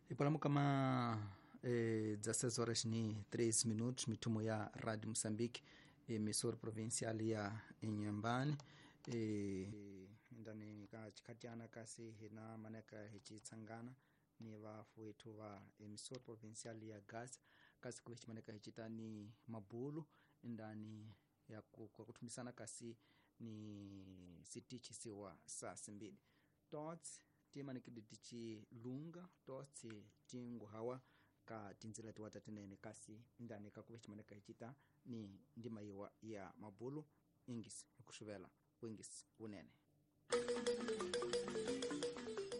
Ipalamu kama 16 horas ni 3 minutos, mitumo ya Radio Mozambique, emissora provincial ya Inhambane, ndani ka chikatiana kasi hina maneka hichitsangana ni vafu wetu va emissora provincial ya Gaza kasi kuve chimaneka hichita ni mabulu ndani ya kwa kutumisana kasi ni sitichisiwa saa simbili tots timanikidi tichilunga totsi tinguhawa ka tinzila tiwata tinene kasi ndani kakuve chimaneka hichita ni ndima iwa ya mabulu ingisi ikuxuvela wingisi unene.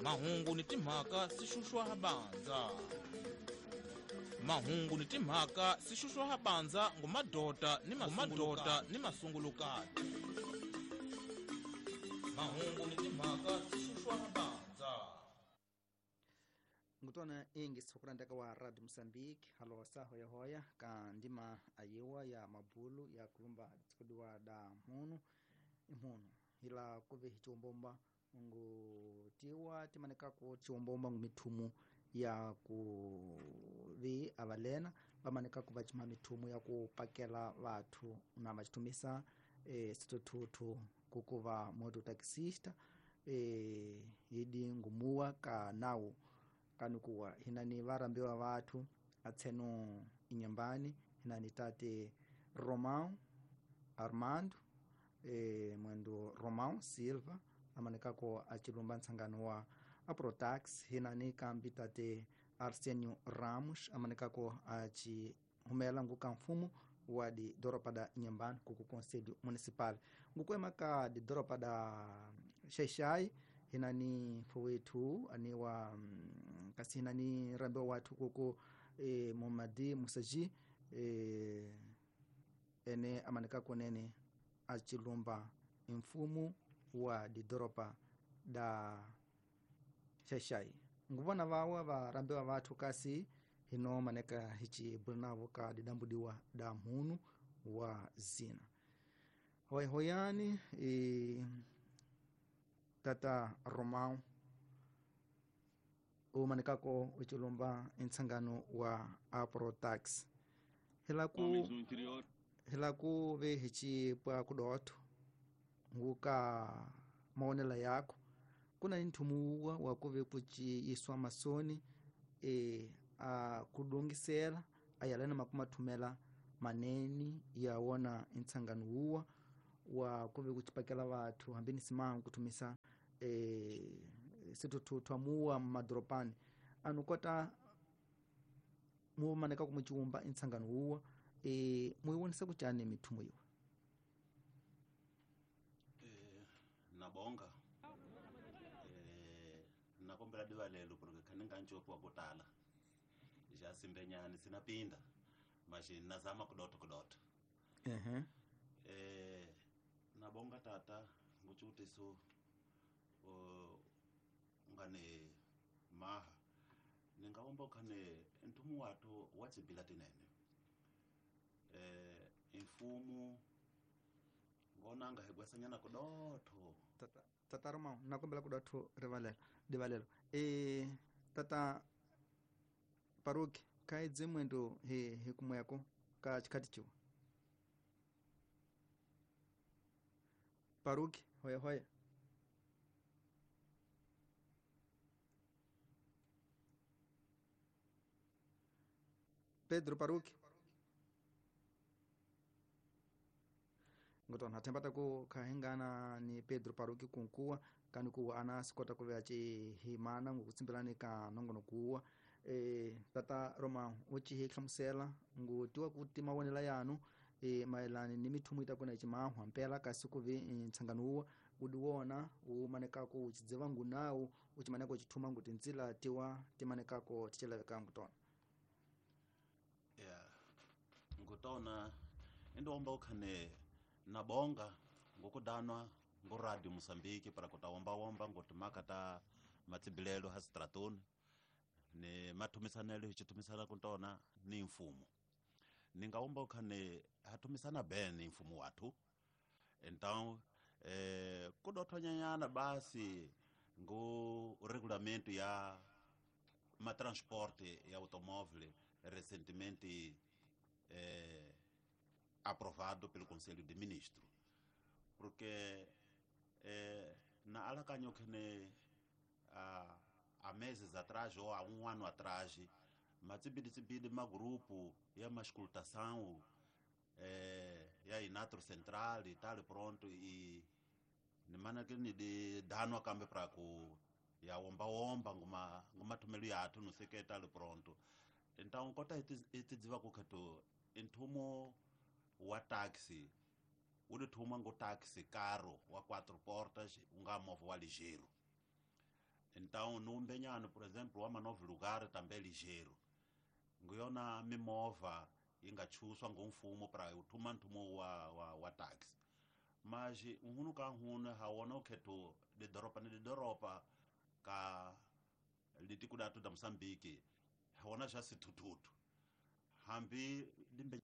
Mahungu ni timhaka swi xuxwa banza. Mahungu ni timhaka swi xuxwa banza ngumadota ni mamadota ni masungulukati. Mahungu ni timhaka swi xuxwa banza. Ngutwana ingisi hukurandaka wa Radio Mozambique halosa hoya hoya ka ndima ayiwa ya mabulu ya kulumba tsikudiwa da munu imunu ila kuve hichiwombomba ngutiwa timanekako chiwombomba ngumithumu ya kuvi avalena vamanekako vacima mithumu ya kupakela vathu na vacitumisa situthuthu kukuva mototaxista idi ngumuwa ka nawu kanukuwa hinani varambiwa vathu atseno inyambani hinani tate Romão Armando mwendo Romão Silva amanekako achilumba ntsangano wa Aprotax hinani kambi tate Arsenio Ramos amanekako achihumela nguka mfumo wa di doropa da Inhambane kuku conselho municipal ngukwema ka di doropa da Xaixai hinani fowethu aniwa kasi hinani rambiwa wathu kuku Momadi Musaji ene amanekako nene achilumba mfumo wa didoropa da Xaixai nguvona vawa varambiwa vathu kasi hino maneka hichi bulinavo ka didambudiwa da munu wa zina hoyani tata Romão umanekako uchilumba ntsangano wa Aprotax hilaku ve hichi pwa kudotho nguka maonela yako kuna nthumuwa wa kuve kuchiyiswa masoni a kudongisela ayalena makumathumela maneni ya wona ntsangano wuwa wa kuve kuchipakela vathu hambi ni simangu kuthumisa situthuthwa muwa madropani anu kota mumaneka kumuchiwumba ntsangano wuwa muiwonisa kuchani mithumo iwa? Nabonga nakombela divalelo porque khaninga ncopo wa kutala ja simbenyani sinapinda mashi nazama kudota kudota. Nabonga tata nguchutiso ngane maha ningaomba khane ntumu watu watsibila tinene mfumo ngonanga higwesanyana kudotho. Tata Romão nakombela kudotho rivalelo divalelo tata Paruki kaidze mwendo he kumweko ka chikhati chiwa Paruki hoya hoya Pedro Paruki ngotona thembata ku khahengana ni Pedro Paruki kunkuwa kani kuwa ana sikota kuve achihimana ngukutsimbelani ka nongono kuwa tata Romão uchihi hlamusela ngutiwa kuti mawonela yanu maelani ni mithumu itakuna ichimahwa mpela kasi kuvi ntsangano uwa udiwona umanekako uchidziva ngunawu uchimaneka uchithuma nguti ntsila tiwa timanekako tichilaveka ngutona. Yeah ngutona indiwomba ukhane nabonga ngokudanwa ngo Radio Mozambique para kutawomba-womba ngotimaka ta matsibilelo ha stratoni ni mathumisanelo hichithumisana kuntona ni mfumo ningawomba ukhane hathumisana ben ni mfumo wathu então kudothonyanyana basi ngo regulamento ya ma transporte ya automóvel recentemente aprovado pelo Conselho de Ministros. Porque na alakanyo que há meses atrás ou há um ano atrás, matsibidi ma grupo ya mascultação ya Inatro Central e tal, pronto, e nimana que ni de dano akambe para ku ya omba omba nguma nguma tumelo yathu no sei que tal, pronto. Então kota itidziva ku khato inthumo wa taxi wu ti thuma ngo taxi caro wa quatro portas unga movha wa ligeiro. Então no Mbenyano, por exemplo, wa manovo lugar também ligeiro, nguyona mimovha yi nga chuswa ngomfumo para u thuma nthumo wa taxi. Mas nhunu ka nhunu ha wona ukhetho lidoropa ni lidoropa ka litiko datu da Moçambique ha wona xa sithuthuthu hambi limbe.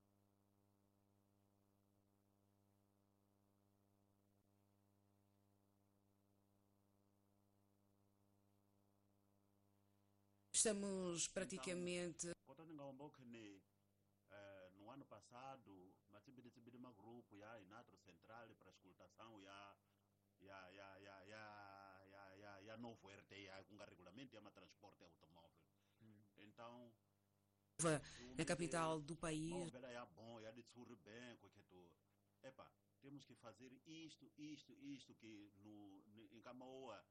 Estamos praticamente. Kota ni nga omba ukhene no ano passado matsibidi ma grupo ya Inatro Central para escultação ya ya ya ya ya ya ya ya novo RTA com regulamento ya ma transporte automóvel. Então na capital do país. Bom, ya bom, ya de tsuri bem, que tu. Epa, temos que fazer isto, isto, isto que no em Camaoa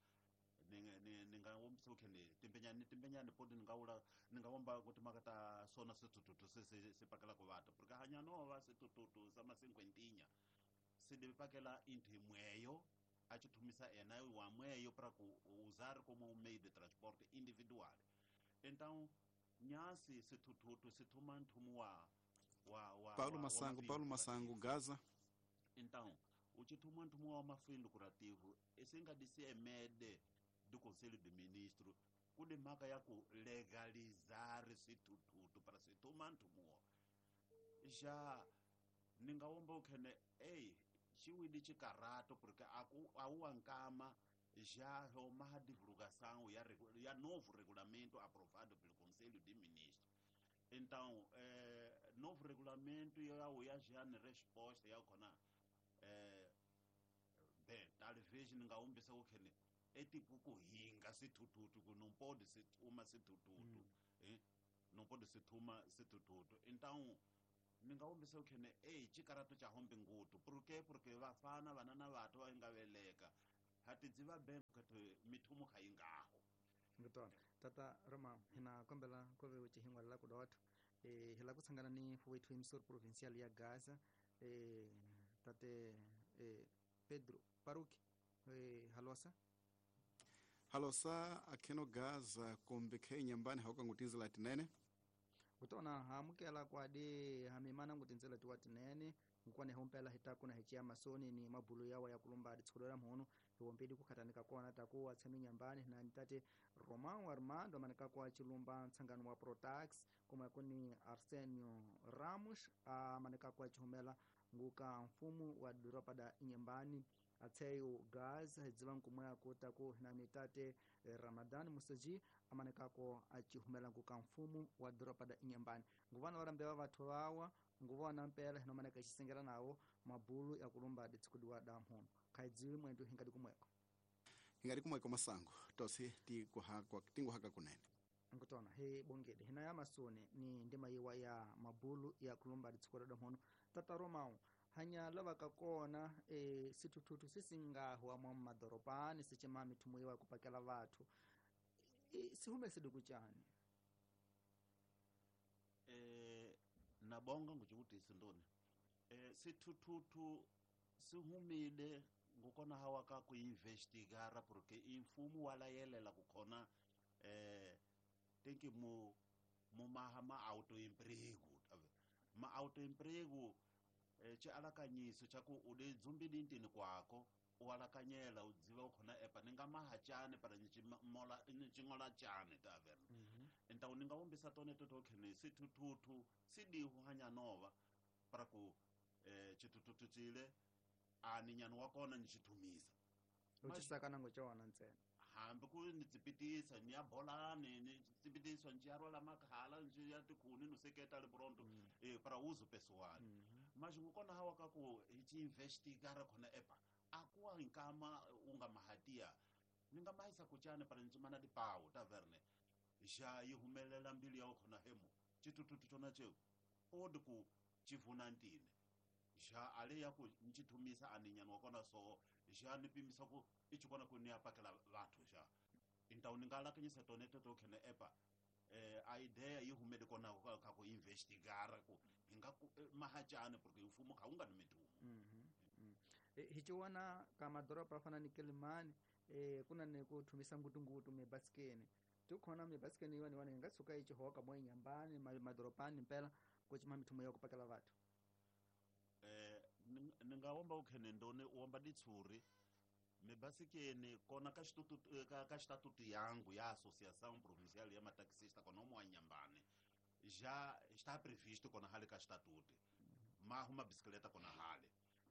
ninga womso khene timbenyani timbenyani podi ninga ula ninga womba kuti makata sona sitututu se pakela ku vata porque hanya nova sitututu sama cinquentinha se deve pakela inti mweyo a chithumisa ena wa mweyo para ku usar como um meio de transporte individual. Então nyasi sitututu situma nthumu wa Paulo Massango, Paulo Massango Gaza. Então o chithuma nthumu wa mafim lucrativo esse disse emede do Conselho de Ministros kude mhaka ya ku legalizar swithuthuthu para swithuma nthumu xa ni nga womba ukhene ei xiwili xikarato porque aku awuwa nkama já uma divulgação ya novo regulamento aprovado pelo Conselho de Ministros. Então, novo regulamento ya já ni resposta ya khona bem, talvez ni nga wombisa ukhene é tipo kuhinga swithuthuthu ku não pode se thuma swithuthuthu não pode se thuma swithuthuthu. Então ni nga wombisa ukhene ei xikarato xa hombe ngutu porque porque vafana vana na vathu va nga veleka ha tidziva bem khathu mithumo kha yingaho. Ngitona tata Roma hina kombela ku ve xihingwa la ku dot hi la ku tshangana ni wethu emsor provincial ya Gaza tate Pedro Paruki halosa halosa akheno Gaza kombe khe nyambani hauka ngutinzela tinene kutona hamukela kwadi hamimana ngutinzela tiwa tinene nkwane hompela hitakuna hichia masoni ni mabulu yawa ya kulumba ditsholo mhono hiwompedi kukhatanika kona taku atshami nyambani na ntate Romão Armando manika kwa chilumba ntsangano wa Protax kuma kuni Arsenio Ramos manika kwa chihumela nguka mfumu wa doropa da nyambani atseyo Gaza hidziva nkumwe kuta ku na nitate Ramadan Musaji amanekako achihumela nguka mfumu wa doropa da nyambani nguvana varambewa vathu vawa nguvona mpela hinomaneka xisengela nawo mabulu ya kulumba ditshikudiwa da mhono khaidziwi mwendu hingadi kumweko hingadi kumweko Masango tosi tinguhaka kunene nkutona he bongede hina ya masone ni ndima yiwa ya mabulu ya kulumba ditshikudiwa da mhono tata Romão hanya lavaka kona sithuthuthu sisingahwa mwa madorobani sicima mithumo yiwa kupakela vathu sihume siduku chani nabonga nguchikutisi ndoni sithuthuthu sihumile ngukona hawa ka kuinvestigara porque imfumo walayelela kukhona tenki mu mumaha ma autoemprego ma autoemprego xialakanyiso xa ku u le dzumbili ntini kwako u alakanyela u dziva ukhona epa ni nga maha cani para ni xingola cani tavern. Então ni nga wombisa tone toto khene sithuthuthu sidihu hanya nova para ku xithuthuthu cile a ni nyani wa kona ni xithumisa u xisaka nango cona ntsena. Hambi ku ni tsipitisa ni ya bolani ni tsipitisa ni ya rwala makhala ni ya tikhuni no seketa le pronto para uso pessoal. Mas ngukona hawa ka ku hi ci investigar khona epa akuwa nkama unga mahatia ni nga mahisa kuchane para ncimana dipawu taverne xa yi humelela mbilu ya khona hemo chitututu chona cheu odi ku chivuna ntine xa ale ya ku nchithumisa aninyana wa kona so xa ni pimisa ku i chikona ku ni ya pakela vathu xa então ni nga lakanyisa tone toto khene epa a ideia yi humele kona ka ku investigar ku hi nga ku mahachane porque mfumo kha wu nga ni mitumo. Hi ciwana ka madoroba fana ni Kilimani kuna ni ku thumisa ngutungutu mibasikeni tikhona mibasikeni yiwani wani nga tshuka yi cihoka mo inyambani madorobani mpela ku cima mithumo ya ku pakela vathu. Ni nga womba ukhene ndone u womba ditshuri mibasikeni kona ka ka xitatutu yangu ya associação provincial ya mataxista kona omo wa Nyambane já está previsto kona hale ka xitatuti mahu mabisikleta kona hale.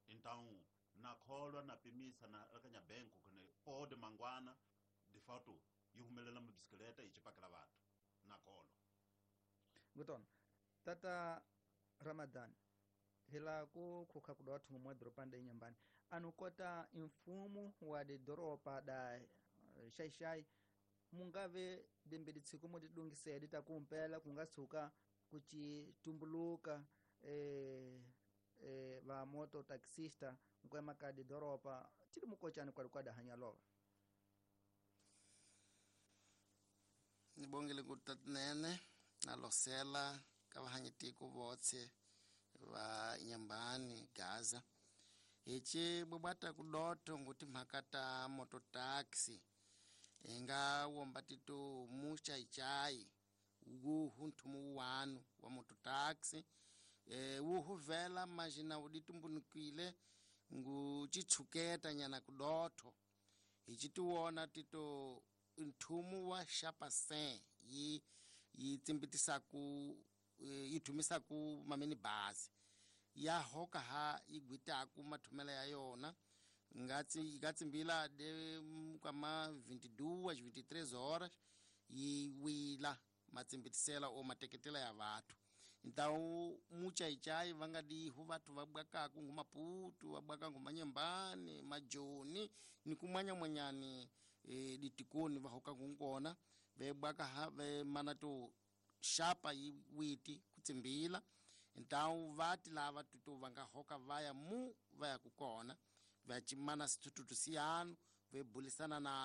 Então na kholwa na pimisa na lakanya benko kone pode mangwana de fato yi humelela mabisikleta yi chipakela vathu na kholwa. Ngutona tata Ramadan hila ku khukha kudowa thungu mwa doropa da Inyambani anukota mfumo wa de doropa da xaixai mungave dimbili tsiku mo tidungisele ta kumpela kunga tshuka kuchi tumbuluka va moto taxista nkwema ka de doropa tili mukochani kwa kwada hanyalova. Nibongele kutatinene na losela ka vahanyitiko votse va Inyambani Gaza hichi bwabwata kudoto nguti mhaka moto taxi inga womba tito muchaichai wuhu nthumu wanu wa moto taxi wuhu vela majina uditumbunikile ngu chitshuketa nyana kudoto hichi tiwona tito nthumu wa xapasen yi yi tsimbitisaku yi thumisaku mamini bazi ya hoka ha yi gwitaku mathumela ya yona ngatsi ngatsimbila de kama 22 23 horas yi wila matsimbitisela o mateketela ya vathu. Então muchaichai vanga dihu vathu vabwakaku ngumaputu vabwaka ngumanyembani majoni ni kumwanya mwanyani ditikoni vahoka kungona vebwaka ha ve mana to xapa yi witi kutsimbila. Então vati lava tutu vanga hoka vaya mu vaya kukona vachimana sitututu siyanu vebulisana na